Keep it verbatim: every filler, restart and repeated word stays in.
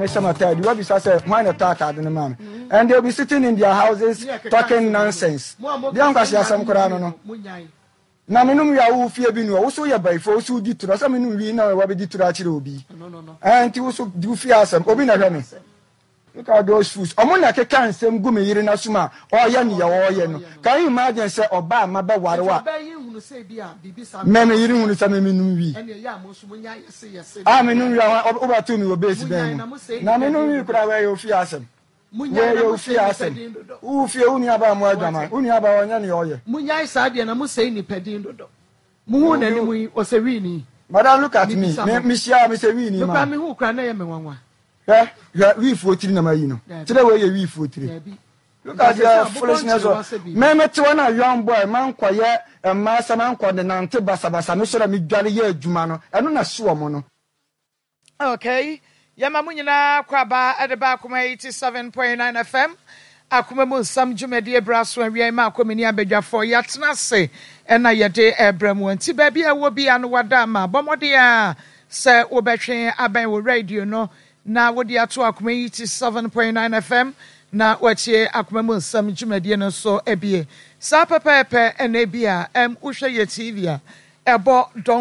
Mehyɛ m'ataade, wabisa sɛ hwan na ɛtɔ ataade no maa me, and they will be sitting in their houses talking nonsense. Deɛ nkwasi asɛm koraa no no na menom wie a, wo fie bi no, wo so yɛ bayifoɔ, wo so wodi toro sɛ menom wie na wabɛdi toro akyerɛ obi. Ɛn nti wo so di wo fie asɛm, obi na hwɛ me. Look at those fools. Ɔmo na keka nsɛm gu me yere n'asom a ɔyɛ nea ɔyɛ no. Can you imagine sɛ ɔbaa ma bɛware wa mɛ me yere hunu sɛ me menom wi a, menom wi a, wobɛto me wɔ base bɛn mu na menom wi koraa? Wɔyɛ ofie asɛm, wɔyɛ ofie asɛm. Wo fie, wo nua baa mu adwaman, wo nua baa ɔnyɛ nea ɔyɛ. Munyae saa deɛ na mosɛe nipa din dodo. Muhu n'anim yi, ɔsɛ wii. Madam, look at me. Me mehyia me sɛ wii ni ma. Mekura mehu kura na ɛyɛ me nwanwa. Hwɛ, hwɛ, wiifoɔ tiri na ma yi no kyerɛ wei yɛ wiifoɔ tiri. Look at the foolishness of me. Me te hɔ na young boy man kɔyɛ mmaa sɛ man kɔ de nante basabasa. Me sɔrɔ, me dware yɛ adwuma no, ɛno na si wɔn no. Okay, yɛma mo nyinaa kɔ aba ɛde ba Akoma eighty-seven point nine F M, Akoma Mu Nsɛm dwumadie bra so. Awia ma akɔmini abadwafoɔ yɛatena ase ɛna yɛde ɛbrɛ mu, nti baabi a ɛwɔ bia no, wada ama bɔ mmɔden a sɛ wobɛtwe abɛn wɔ radio no na wode ato Akoma eighty-seven point nine F M na watie Akoma Mu Nsɛm dwumadie no nso abie saa pɛpɛɛpɛ. Ɛna bi a ɛm wohwɛ yɛ T V a ɛbɔ dɔn.